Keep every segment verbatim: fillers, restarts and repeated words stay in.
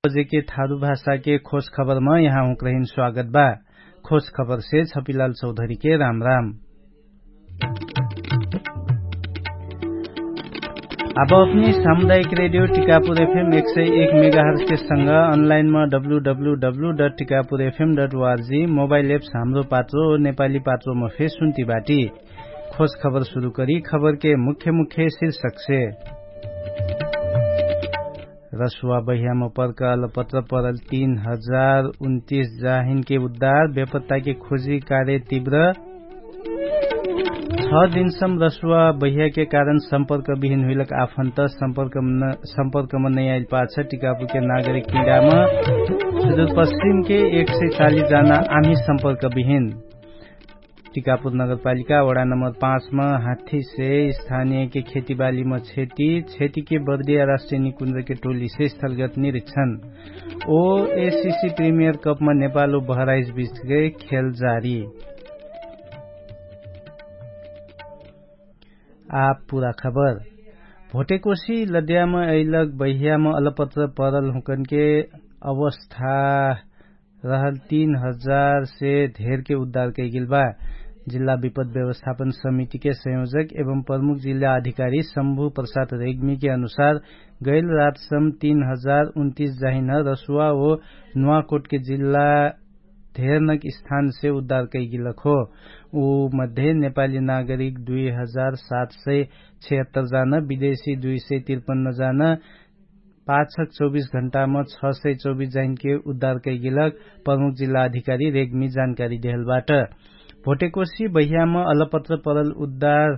बजेके थारु भाषाके खोज खबरमा यहाँ हुँक्रहिन स्वागत बा। खोज खबरसे छपिलाल चौधरीके राम राम। अब अपनी सामुदायिक रेडियो टिकापुर एफएम एक सय एक मेगाहर्सके संग अनलाइनमा W W W dot Tikapur FM dot ORG mobile apps Hamro Patro नेपाली पात्रोमा फेर सुन्ती बाटी। खोज खबर सुरु करी खबरके मुख्य मुख्य शीर्षकसे। रसुवा बहियाम पर्क अलपत्र परल तीन हजार उन्तिस जाहिनके उद्धार बेपत्ताके खोजी कार्य तीव्र। छ दिनसम रसुवा बहियाके कारण सम्पर्क बिहिन हुइलक आफन्त सम्पर्कम नैयाइल पाछ टिकापुरके नागरिक किडाम सुदुर पश्चिमके एक सय चालिस जाना आम्ही सम्पर्क बिहिन। टिकापुर नगरपालिका वडा नम्बर पाँचमा हाथीसे स्थानियके खेतीबालीमा क्षति क्षतिके बर्दिया राष्ट्रिय निकुन्द्रके टोलीसे स्थलगत निरिक्षण। ओ एसिसी प्रिमियर कपमा नेपाल उ बहराइस बिचके खेल जारी। आ पुरा खबर। भोटेकोसी लद्याम अइलक बहियाम अलपत्र परल हुँकनके अवस्था रहल तीन हजार से धेरके उद्धार कैगेल बा। जिल्ला विपद व्यवस्थापन समितिके संयोजक एवं प्रमुख जिल्ला अधिकारी शम्भु प्रसाद रेग्मीके अनुसार गैल रातसम तीन हजार उन्तिस जाहिन रसुवा ओ नुवाकोटके जिल्ला धेरनक स्थानसे उद्धार कैगेलक हो। उ मध्ये नेपाली नागरिक दुई हजार सात सय छिहत्तर जान विदेशी दुई सय तिरपन्न जान पाछक चौबिस घण्टाम छ सय चौबिस जाहिनके उद्धार कैगेलक प्रमुख जिल्ला अधिकारी रेग्मी जानकारी देहलबाट। भोटेकोसी बहियाम अलपत्र परल उद्धार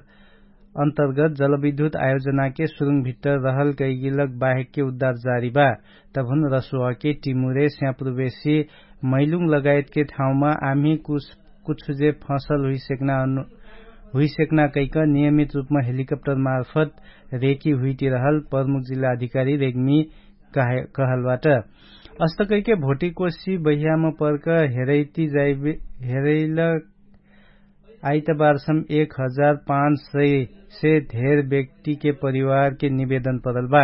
अन्तर्गत जलविद्युत आयोजनाके सुरुङ भित्तर रहल कैगेलक बाहेकके उद्धार जारी बा। तभुन रसुवाके टिमुरे स्यापुर्वेशी मैलुङ लगायतके ठाउँमा आम्ही कुछ कुछु जे फसल हुइसेक्ना कैक नियमित रूपमा हेलिकप्टर मार्फत रेकी हुइतिरहल प्रमुख जिल्ला अधिकारी रेग्मी कहलबाट। अस्तकैके भोटिकोसी बहियाम पर्क हेरैती जाइबे हेरैल आइतबारसम एक हजार पाँच सय से धेर व्यक्तिके परिवारके निवेदन परल बा।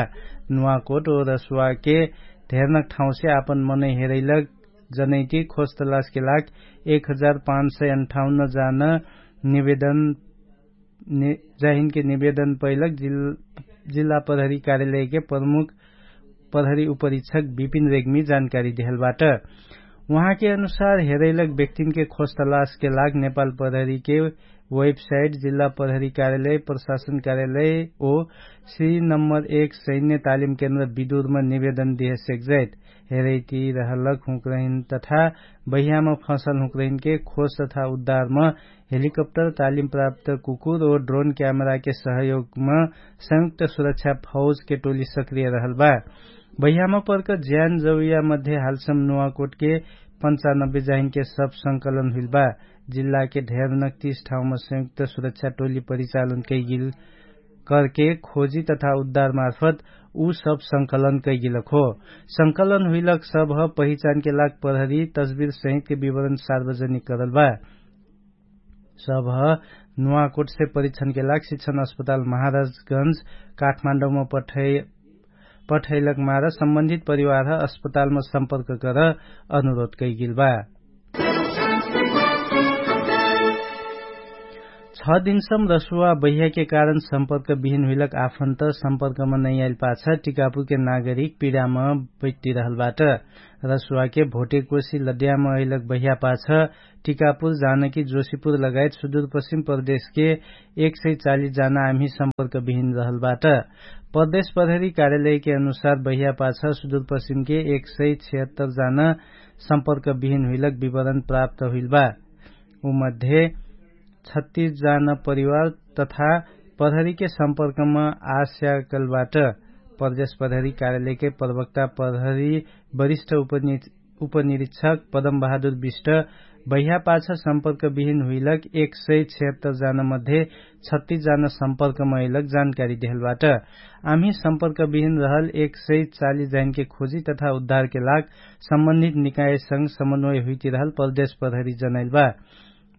नुवाकोट ओ रसुवाके धेरनक ठाउँसे आपन मनै हेरैलक जनैति खोजतलासके लाग एक हजार पाँच सय अन्ठाउन्न जान निवेदन जाहिनके निवेदन पैलक जिल्ला प्रहरी कार्यालयके प्रमुख प्रहरी उपरीक्षक विपिन रेग्मी जानकारी देहलबाट। उहाँके अनुसार हेरैलक व्यक्तिनके खोजतलासके लाग नेपाल प्रहरीके वेबसाइट जिल्ला प्रहरी कार्यालय प्रशासन कार्यालय ओ श्री नम्बर एक सैन्य तालिम केन्द्र विदुरमा निवेदन देहसेक्जैत हेरैति रहलक हुँक्रहिन तथा बहियामा फँसल हुँक्रहिनके खोज तथा उद्धारमा हेलिकप्टर तालिम प्राप्त कुकुर ओ ड्रोन क्यामेराके सहयोगमा संयुक्त सुरक्षा फौजके टोली सक्रिय रहल बा। बहियामा पर्क ज्यान जौया मध्ये हालसम नुवाकोटके पन्चानब्बे जाहिनके सब संकलन हुइल बा। जिल्लाके ढेर नक्तिस ठाउँमा संयुक्त सुरक्षा टोली परिचालन कैगिल करके खोजी तथा उद्धार मार्फत उ सब संकलन कैगिलक हो। संकलन हुइलक सब पहिचानके लाग प्रहरी तस्बिर सहितके विवरण सार्वजनिक करल बा। सब नुवाकोटसे परीक्षणके लाग शिक्षण अस्पताल महाराजगंज काठमाण्डौमा पठैलक मार सम्बन्धित परिवार अस्पतालमा सम्पर्क कर अनुरोध कैगिल बा। छ दिनसम रसुवा बहियाके कारण सम्पर्क बिहिन हुइलक आफन्त सम्पर्कमा नैयाइल पाछ टिकापुरके नागरिक पिडामा बैटिरहलबाट। रसुवाके भोटेकोसी लद्यामा अहिलक बहिया पाछ टिकापुर जानकी जोशीपुर लगायत सुदुरपश्चिम प्रदेशके एक सय चालिस जाना आम्ही सम्पर्क बिहिन रहलबाट। प्रदेश प्रहरी कार्यालयके अनुसार बहिया पाछ सुदुरपश्चिमके एक सय छिहत्तर जाना सम्पर्क बिहिन हुइलक विवरण प्राप्त हुइल बा। उमध्ये छत्तीस जाना परिवार तथा प्रहरीके सम्पर्कमा आस्याकलबाट। प्रदेश प्रहरी कार्यालयके प्रवक्ता प्रहरी वरिष्ठ उपनिरीक्षक पदम बहादुर विष्ट बहिया पाछ सम्पर्क बिहिन हुइलक एक सय छिहत्तर जाना मध्ये छत्तीस जाना सम्पर्कमा अइलक जानकारी देहलबाट। आम्ही सम्पर्क बिहिन रहल एक सय चालिस जाहिनके खोजी तथा उद्धारके लाग सम्बन्धित निकायसँग समन्वय हुइतिरहल प्रदेश प्रहरी जनैल बा।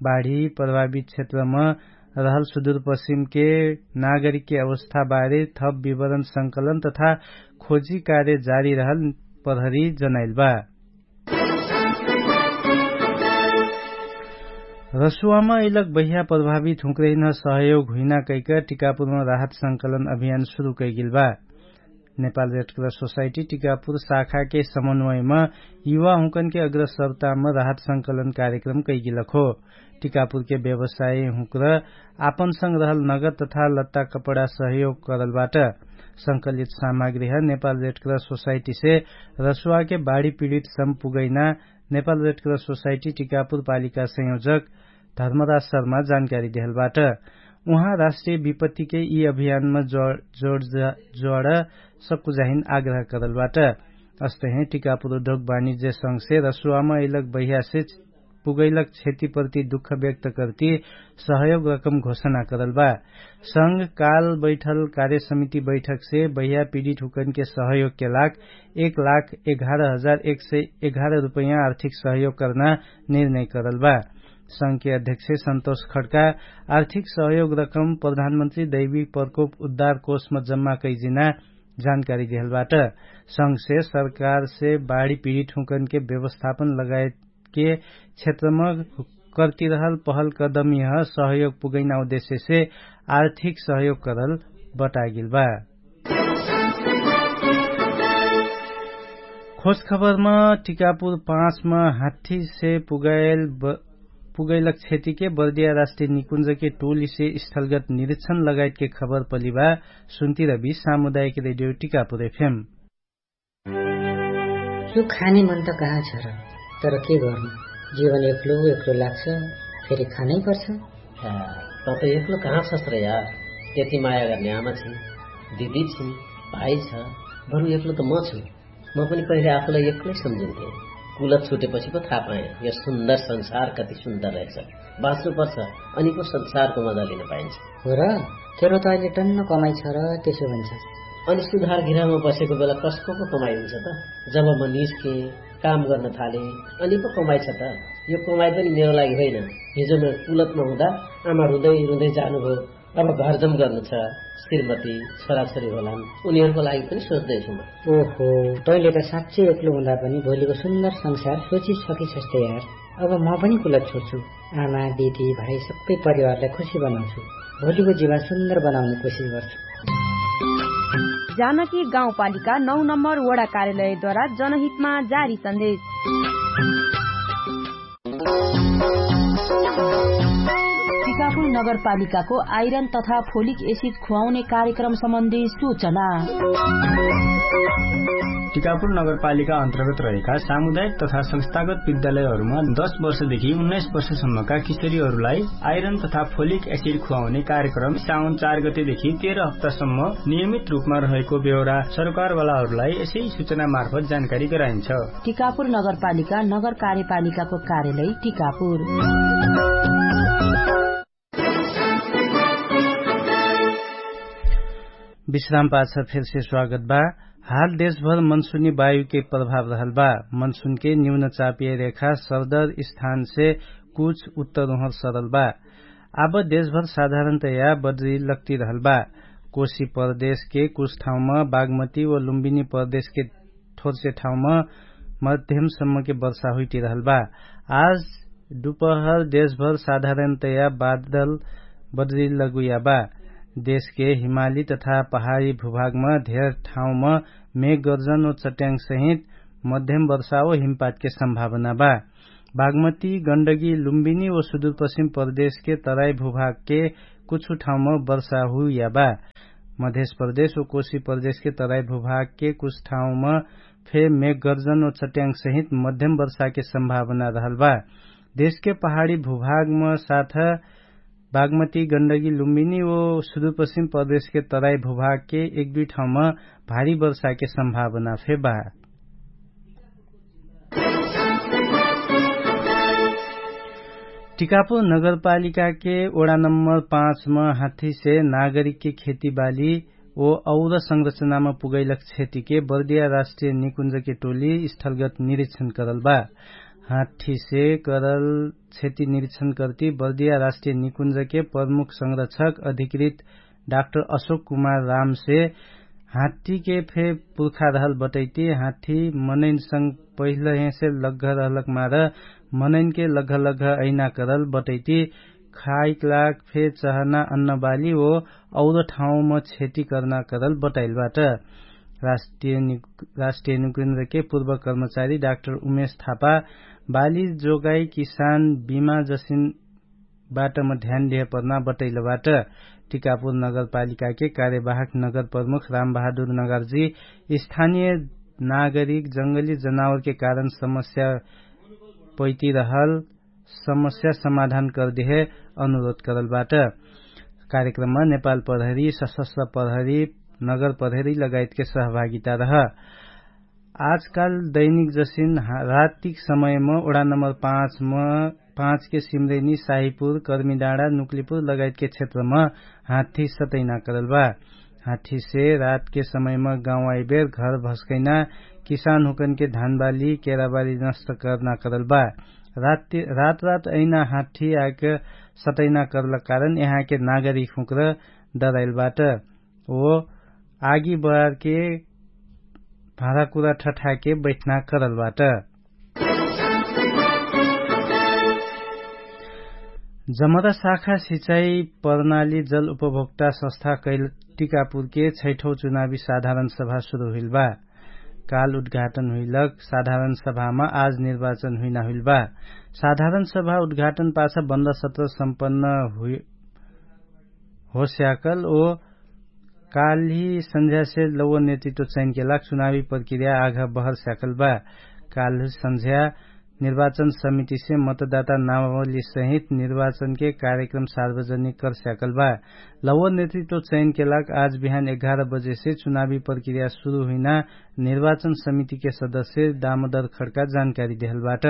बाढी प्रभावित क्षेत्रमा रहल सुदुरपश्चिमके नागरिकके अवस्थाबारे थप विवरण संकलन तथा खोजी कार्य जारी रहल प्रहरी जनाइल बा। रसुवामा इलक बहिया प्रभावित हुँक्रेहिन सहयोग हुइना कैक टिकापुरमा राहत संकलन अभियान सुरु कैगिल बा। नेपाल रेडक्रस सोसाइटी टिकापुर शाखाके समन्वयमा युवा हुँकनके अग्रसरतामा राहत संकलन कार्यक्रम कैगिलक हो। टिकापुरके व्यवसाय हुँक्र आपनसँग रहल नगद तथा लत्ता कपडा सहयोग करलबाट। संकलित सामग्रीह नेपाल रेडक्रस सोसाइटीसे रसुवाके बाढी पीडित सम्पुगैना नेपाल रेडक्रस सोसाइटी टिकापुर पालिका संयोजक धर्मराज शर्मा जानकारी देहलबाट। उहाँ राष्ट्रिय विपत्तिके यि अभियानमा जोड जोड सक्कु जाहिन आग्रह करलबाट। अस्तहे टिकापुर उद्योग वाणिज्य संघसे रसुवामा इलक बहियासे पुगैलक क्षतिप्रति दुःख व्यक्त करती सहयोग रकम घोषणा करलबा। संघ काल बैठल कार्यसमिति बैठकसे बहिया पीडित हुकनके सहयोगके लाग एक लाख एघार हजार एक सय एघार रुपैयाँ आर्थिक सहयोग कर्ना निर्णय करलबा। संघके अध्यक्ष सन्तोष खड्का आर्थिक सहयोग रकम प्रधानमन्त्री दैविक प्रकोप उद्धार कोषमा जम्मा कैजिना जानकारी देहलबाट। संघसे सरकारसे बाढी पीडित हुकनके व्यवस्थापन लगायतके क्षेत्रमा कर्तिरहल पहल कदम यह सहयोग पुगैना उद्देश्यसे आर्थिक सहयोग करल बतागिल बा। खोजखबरमा टिकापुर पाँचमा हाठीसे पुगैलक क्षतिके बर्दिया राष्ट्रिय निकुञ्जके टोलीसे स्थलगत निरिक्षण लगायतके खबर पलिबा। सुन्तिरबी सामुदायिक रेडियो टिकापुर एफएम। यो खाने मन त कहाँ छ र? तर के गर्नु, जीवन एक्लो एक्लो लाग्छ, फेरि खानै पर्छ। त त एक्लो कहाँ छस् र यार? यति माया गर्ने आमा छिन्, दिदी छिन्, भाइ छ, बरु एक्लो त म छु। म पनि पहिले आफूलाई एक्लै सम्झिन्थे। कुलत छुटेपछि पो थाहा पाएँ, यो सुन्दर संसार कति सुन्दर रहेछ। बाँच्नु पर्छ, अनि पो संसारको मजा लिन पाइन्छ। हो र? तेरो त अहिले टन्न कमाइ छ र त्यसो भन्छ। अनि सुधार गृहमा बसेको बेला कसको पो कमाइ हुन्छ त? जब म निस्केँ, काम गर्न थालेँ, अनि पो कमाइ छ त? यो कमाइ पनि मेरो लागि होइन। हिजो म कुलतमा हुँदा आमा रुँदै रुँदै जानुभयो। अब घरजम गर्नु छ, श्रीमती, छोराछोरी होलान्, उनीहरूको लागि पनि सोच्दैछु म। ओहो, तैँले त साँच्चै एक्लो हुँदा पनि भोलिको सुन्दर संसार सोची सकिसक्छ यार। अब म पनि कुलत छोड्छु। आमा, दिदी, भाइ सबै परिवारलाई खुसी बनाउँछु। भोलिको जीवन सुन्दर बनाउने कोसिस गर्छु। जानकी गाउँपालिका नौ नम्बर वडा कार्यालयद्वारा जनहितमा जारी सन्देश। टिकापुर नगरपालिकाको आइरन तथा फोलिक एसिड खुवाउने कार्यक्रम सम्बन्धी सूचना। टिकापुर नगरपालिका अन्तर्गत रहेका सामुदायिक तथा संस्थागत विद्यालयहरूमा दश वर्षदेखि उन्नाइस वर्षसम्मका किशोरीहरूलाई आइरन तथा फोलिक एसिड खुवाउने कार्यक्रम साउन चार गतेदेखि तेह्र हप्तासम्म नियमित रूपमा रहेको बेहोरा सरकारवालाहरूलाई यसै सूचना मार्फत जानकारी गराइन्छ। टिकापुर नगरपालिका नगर कार्यपालिकाको कार्यालय टिकापुर। विश्राम पाछ फेरसे स्वागत बा। हाल देशभर मनसुनी वायुके प्रभाव रहल बा। मनसुनके न्यून चापिय रेखा सरदर स्थानसे कुछ उत्तर उहर सरल बा। आब देशभर साधारणतया बद्री लक्ति रहल बा। कोशी प्रदेशके कुछ ठाउँमा बागमती व लुम्बिनी प्रदेशके थोरसे ठाउँमा मध्यमसम्मके वर्षा हुइटिरहल बा। आज दुपहर देशभर साधारणतया बादल बद्री लगुया बा। देशके हिमाली तथा पहाडी भूभागमा धेर ठाउँमा मेघगर्जन व चट्याङसहित मध्यम वर्षा व हिमपातके सम्भावना बा। बागमती गण्डगी लुम्बिनी व सुदूरपश्चिम प्रदेशके तराई भूभागके कुछु ठाउँमा वर्षा हुइया बा। मध्यप्रदेश व कोशी प्रदेशके तराई भूभागके कुछ ठाउँमा फे मेघगर्जन व चट्याङसहित मध्यम वर्षाके सम्भावना रहल बा। देशके पहाडी भूभागमा साथ बागमती गण्डगी लुम्बिनी व सुदूरपश्चिम प्रदेशके तराई भूभागके एक दुई ठाउँमा भारी वर्षाके सम्भावना फे बा। टिकापुर नगरपालिकाके ओडा नम्बर पाँचमा हाथीसे नागरिकके खेतीबाली ओ और संरचनामा पुगैलक क्षतिके बर्दिया राष्ट्रिय निकुञ्जके टोली स्थलगत निरिक्षण करल बा। हाथीसे करल क्षति निरिक्षण कर्ति बर्दिया राष्ट्रिय निकुञ्जके प्रमुख संरक्षक अधिकृत डाक्टर अशोक कुमार रामसे हाठीके फे पुर्खा रहल बटैती। हाठी मनैनसँग पहिलहेसे लग्घ रहलक मार मनैनके लग्घ लग्घ अहिना करल बटैती। खाइक लाग फे चहना अन्नबाली ओ और ठाउँम क्षति कर्ना करल बटैलबाट। राष्ट्रिय निकुन्द्रके पुर्व कर्मचारी डाक्टर उमेश थापा बाली जोगाई किसान बिमा जसिन बाटम ध्यान देह पर्ना बटैलबाट। टिकापुर नगरपालिकाके कार्यवाहक नगर प्रमुख रामबहादुर नगरजी स्थानिय नागरिक जङ्गली जनावरके कारण समस्या पैतिरहल समस्या समाधान कर्देह अनुरोध करलबाट। कार्यक्रममा नेपाल प्रहरी सशस्त्र प्रहरी नगर प्रहरी लगायतके सहभागिता रह। आजकाल दैनिक जसिन रातिक समयम ओढा नम्बर पाँचके सिम्रेनी साहिपुर कर्मीडाँडा नुक्लिपुर लगायतके क्षेत्रम हाठी सतैना करलबा। हाठीसे रातके समयम गाउँ आइबेर घर भस्कैना किसान हुकनके धानबाली केराबाली नष्ट कर्ना करलबा। रात रात अहिना हाठी आइक सतैना करलक कारण यहाँके नागरिक हुँक्र डराइलबाट। ओ आगी बहारके भाँडाकुरा ठठाके बैठना करलबाट। जमरा शाखा सिचाइ प्रणाली जल उपभोक्ता सस्था कैल टिकापुरके छैठौ चुनावी साधारण सभा सुरु हुइलबा। काल उद्घाटन हुइलक साधारण सभामा आज निर्वाचन हुइना हुइलबा। साधारण सभा उद्घाटन पाछा बन्द सत्र सम्पन्न हुइ होस्याकल ओ काल्हि सन्झ्यासे लौव नेतृत्व चैनके लाग चुनावी प्रक्रिया आघ बहर स्याकल बा। काल्हि सन्झ्या निर्वाचन समितिसे मतदाता नामावली सहित निर्वाचनके कार्यक्रम सार्वजनिक कर स्याकल बा। लौव नेतृत्व चैनके लाग आज बिहान एघार बजेसे चुनावी प्रक्रिया सुरु हुइना निर्वाचन समितिके सदस्य दामोदर खड्का जानकारी देहलबाट।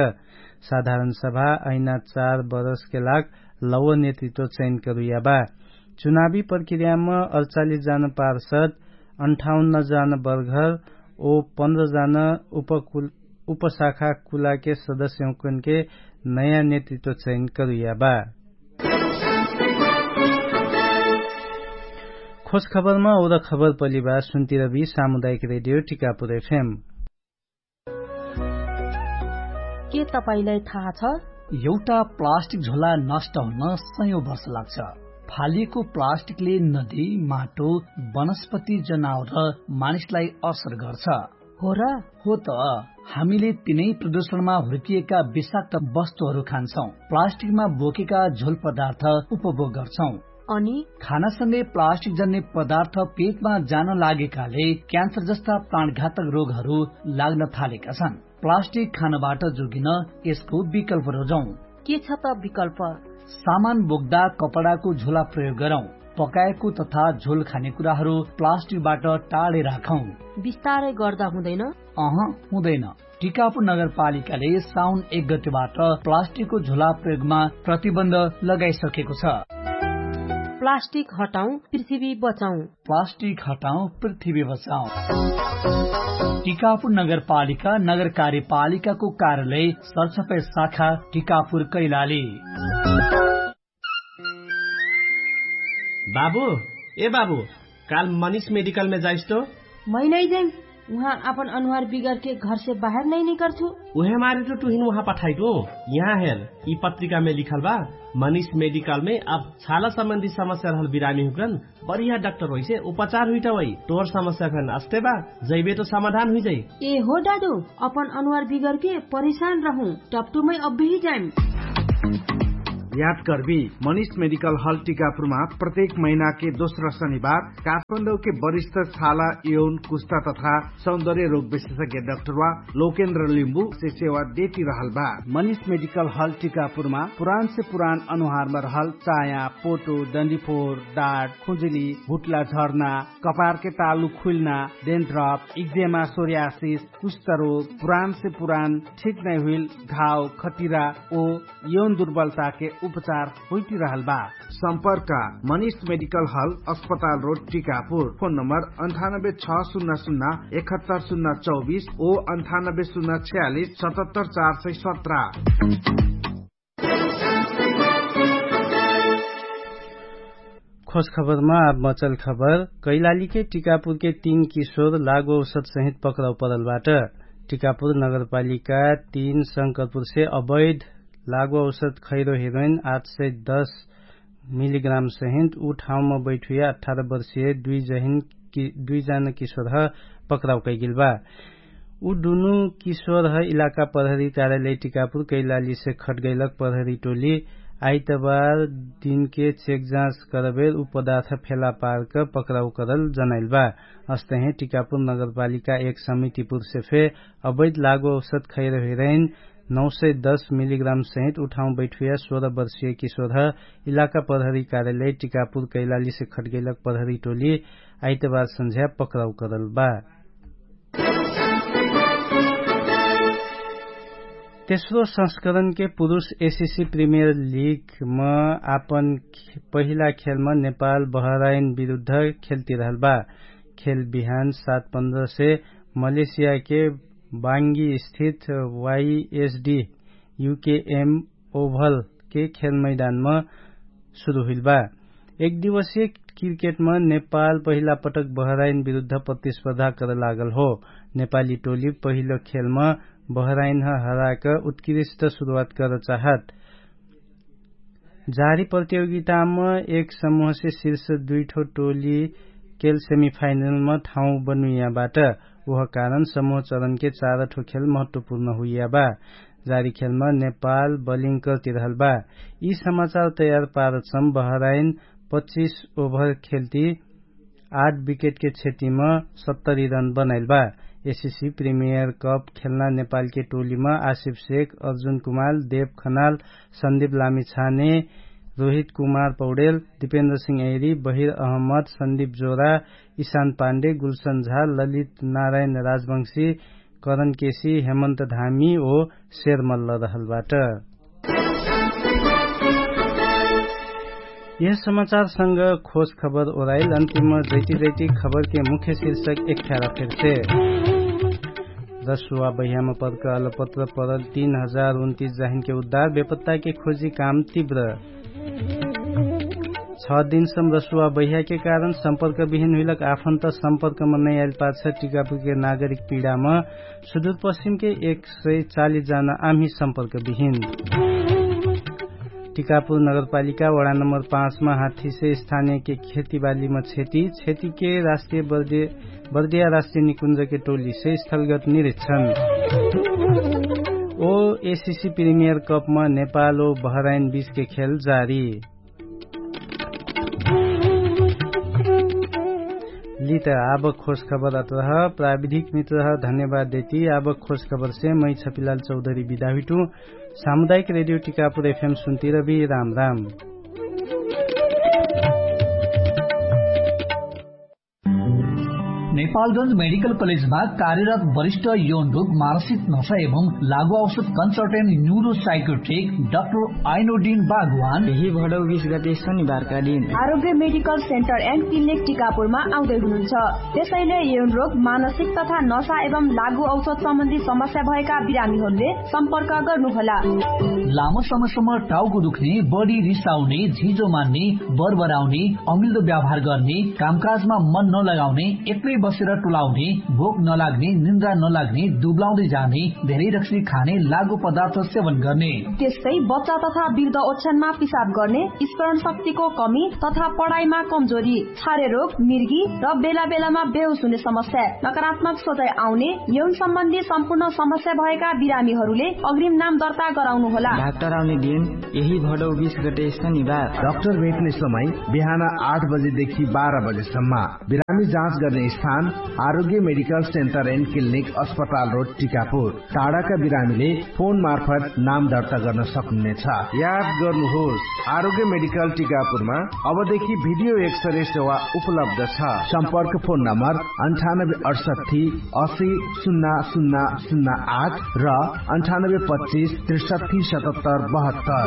साधारण सभा अहिना चार बरसके लाग लौव नेतृत्व चैन करुइया बा। चुनावी प्रक्रियाम अडचालिस जान पार्षद, अन्ठाउन्न जान बर्घर ओ पन्ध्र जान उपशाखा कुलाके सदस्यहुँकनके नयाँ नेतृत्व चैन करुइया बा। खोज खबरमा ओर खबर पलिबा सुन्तिरबी सामुदायिक रेडियो टिकापुर एफएम। के तपाईंलाई थाहा छ? एउटा प्लास्टिक झोला नष्ट हुन सयौं वर्ष लाग्छ। फालिएको प्लास्टिकले नदी, माटो, वनस्पति, जनावर र मानिसलाई असर गर्छ। हो र? हो त। हामीले तिनै प्रदूषणमा हुर्किएका विषाक्त वस्तुहरू खान्छौं, प्लास्टिकमा बोकेका झोल पदार्थ उपभोग गर्छौं। अनि खानासँगै प्लास्टिक जन्ने पदार्थ पेटमा जान लागेकाले क्यान्सर जस्ता प्राणघातक रोगहरू लाग्न थालेका छन्। प्लास्टिक खानबाट जोगिन यसको विकल्प रोजौं। के छ त विकल्प? सामान बोक्दा कपडाको झोला प्रयोग गरौं। पकाएको तथा झोल खाने कुराहरू प्लास्टिकबाट टाढे राखौं। बिस्तारै गर्दा हुँदैन? अह, हुँदैन। टिकापुर नगरपालिकाले साउन एक गतेबाट प्लास्टिकको झोला प्रयोगमा प्रतिबन्ध लगाइसकेको छ। प्लास्टिक हटाउँ, पृथ्वी बचाउँ। प्लास्टिक हटाउँ, पृथ्वी बचाउँ। टिकापुर नगरपालिका नगर कार्यपालिकाको कार्यालय सरसफाइ शाखा टिकापुर कैलाली। बाबु, ए बाबु, काल मनिष मेडिकलमे जाइस तो? मै नै जाइम। उहाँ आपन अनुहार बिगरके घरसे बाहेर नै निकर्छु। उहेमारे तो तुहिन उहाँ पठाइटु। यहाँ हेर, यि पत्रिकामे लिखल बा, मनिष मेडिकलमे अब छाला सम्बन्धी समस्या रहल बिरामी हुकन बढिया डाक्टर होइसे उपचार हुइटा वइ। तोर समस्या फेन अस्ते बा, जैबे तो समाधान हुइजै। ए हो दादु, अपन अनुहार बिगरके परिशान रहु, टपटुमै अब्बेही जाइम। याद कर्बी, मनिष मेडिकल हल टिकापुरमा प्रत्येक महिनाके दोस्रा शनिबार काठमाडौके वरिष्ठ छाला, यौन, कुस्ता तथा सौन्दर्य रोग विशेषज्ञ डाक्टरवा लोकेन्द्र लिम्बु से सेवा देति रहल बा। मनिष मेडिकल हल टिकापुरमा पुरान से पुरान अनुहारमा रहल चाया, पोटो, डन्डिफोर, डाट, खुजुली, हुट्ला झर्ना, कपारके तालु खुइल्ना, डेन्ड्रप, इक्जेमा, सोर्यासिस, कुष्ठरोग, पुरान से पुरान ठिक नै हुइल घाव, खटिरा ओ यौन दुर्बलताके उपचार होइति रहल बा। सम्पर्क मनिष मेडिकल हल, अस्पताल रोड, टिकापुर। फोन नम्बर अन्ठानब्बे छ सुन्ना सुन्ना एकहत्तर सुन्ना चौबिस ओ अन्ठानब्बे सुन्ना छयालिस सतहत्तर चार सय सत्र। खोज खबरमा आब मचल खबर। कैलालीके टिकापुरके तीन किशोर लागु औषध सहित पक्राउ परल बाट। टिकापुर नगरपालिका तीन शंकरपुरसे अवैध लागु औषध खैरो हिरोइन आठ सय दस मिलिग्राम सहित उ ठाउँमा बैठुया अठार वर्षिय दुइ जहिन दुइ जन किशोरह पक्राउ कैगेल बा। उ दुनु किशोरह इलाका प्रहरी कार्यालय टिकापुर कैलालीसे खटगैलक प्रहरी टोली आइतबार दिनके चेकजाँच करबेर उ पदार्थ फेला पार्क पक्राउ करल जनाइल बा। अस्तहे टिकापुर नगरपालिका एक समितिपुरसे फे अवैध लागु औषध खैरो हिरोइन नौ सय दस मिलिग्राम सहित उ ठाउँ बैठुया सोह्र वर्षिय किशोरह इलाका प्रहरी कार्यालय टिकापुर कैलालीसे खटगैलक प्रहरी टोली आइतबार सन्झ्या पक्राउ करल बा। तेस्रो संस्करणके पुरुष एसिसी प्रिमियर लिगम आपन पहिला खेलम नेपाल बहराइन विरुद्ध खेलतिरहल बा। खेल बिहान सात पन्ध्रसे मलेसियाके बाङ्गी स्थित वाइएसडी युकेएम ओभलके खेल मैदानम सुरु हुइल बा। एक दिवसीय क्रिकेटम नेपाल पहिला पटक बहराइन विरुद्ध प्रतिस्पर्धा कर लागल हो। नेपाली टोली पहिलो खेलम बहराइनह हराक उत्कृष्ट सुरुवात कर चाहत। जारी प्रतियोगिताम एक समूहसे शीर्ष दुइठो टोली केल सेमिफाइनलम ठाउँ बनुइयाबाट। उह कारण समूह चरणके चारठो खेल महत्वपूर्ण हुइयाबा। जारी खेलम नेपाल बलिङ कर्तिरहल बा। यि समाचार तयार पारचम बहराइन पच्चिस ओभर खेल्ती आठ विकेटके क्षतिम सत्तरी रन बनाइल बा। एसिसी प्रिमियर कप खेल्ना नेपालके टोलीम आसिफ शेख, अर्जुन कुमार, देव खनाल, सन्दिप लामिछाने, रोहित कुमार पौडेल, दिपेन्द्र सिंह ऐरी, बहिर अहमद, सन्दिप जोरा, इशान पाण्डे, गुल्सन झा, ललित नारायण राजवंशी, करण केसी, हेमन्त धामी ओ सेरमल्ल रहलबाट। यह समाचारसँग खोज खबर ओराइल अन्तिम जैती जैती खबरके मुख्य शीर्षक एक ख्यारा फेरसे। रसुवा बहियामा पदक अलपत्र परल तीन हजार उन्तिस जाहिनके उद्धार बेपत्ताके खोजी काम तिव्र। छ दिनसम रसुवा बहियाके कारण सम्पर्क बिहिन हुइलक आफन्त सम्पर्कम नैआइल पाछ टिकापुरके नागरिक पिडाम सुदुरपश्चिमके एक सय चालिस जाना आम्ही सम्पर्क बिहिन। टिकापुर नगरपालिका वडा नम्बर पाँचमा हाथीसे स्थानियके खेतीबालीमा क्षति क्षतिके राष्ट्रिय बर्दिया राष्ट्रिय निकुञ्जके टोलीसे स्थलगत निरिक्षण। ओ एसिसी प्रिमियर कपमा नेपाल ओ बहराइन बीचके खेल जारी। लित आब खोज खबर अत्रह प्राविधिक मित्रह धन्यवाद देती आब खोज खबरसे मै छपिलाल चौधरी बिदा हुइटु। सामुदायिक रेडियो टिकापुर एफएम सुन्तिरबी राम राम। नेपालगंज मेडिकल कलेजमा कार्यरत वरिष्ठ यौन रोग मानसिक नशा एवं लागु औषध कन्सल्टेन्ट न्युरो साइकोट्रिक डाक्टर आइनोडिन बागवान यही भडौ बिस गते शनिबारका दिन आरोग्य मेडिकल सेन्टर एन्ड क्लिनिक टिकापुरमा आउँदै हुनुहुन्छ। त्यसैले यौन रोग मानसिक तथा नशा एवं लागु औषध सम्बन्धी समस्या भएका बिरामीहरूले सम्पर्क गर्नुहोला। लामो समयसम्म टाउको दुख्ने, बढी रिसाउने, झिजो मान्ने, बरबराउने, अमिल्दो व्यवहार गर्ने, कामकाजमा मन नलगाउने, एक्लै बसेर टोलाउने, भोक नलाग्ने, निन्द्रा नलाग्ने, दुब्लाउँदै जाने, धेरै रक्सी खाने, लागु पदार्थ सेवन गर्ने, त्यस्तै बच्चा तथा वृद्ध ओछ्यानमा पिसाब गर्ने, स्मरण शक्तिको कमी तथा पढाइमा कमजोरी, छारे रोग, मिर्गी र बेला बेलामा बेहोस हुने समस्या, नकारात्मक सोचाइ आउने, यौन सम्बन्धी सम्पूर्ण समस्या भएका बिरामीहरूले अग्रिम नाम दर्ता गराउनुहोला। डाक्टर आउने दिन यही भडौ बिस गते शनिबार। डाक्टर भेट्ने समय बिहान आठ बजेदेखि बाह्र बजेसम्म। बिरामी जाँच गर्ने स्थान आरोग्य मेडिकल सेन्टर एन्ड क्लिनिक अस्पताल रोड टिकापुर। टाढाका बिरामीले फोन मार्फत नाम दर्ता गर्न सक्नुहुनेछ। याद गर्नुहोस्, आरोग्य मेडिकल टिकापुरमा अबदेखि भिडियो एक्सरे सेवा उपलब्ध छ। सम्पर्क फोन नम्बर अन्ठानब्बे अडसट्ठी असी शून्य शून्य शून्य आठ र अन्ठानब्बे पच्चिस त्रिसट्ठी सतहत्तर बहत्तर।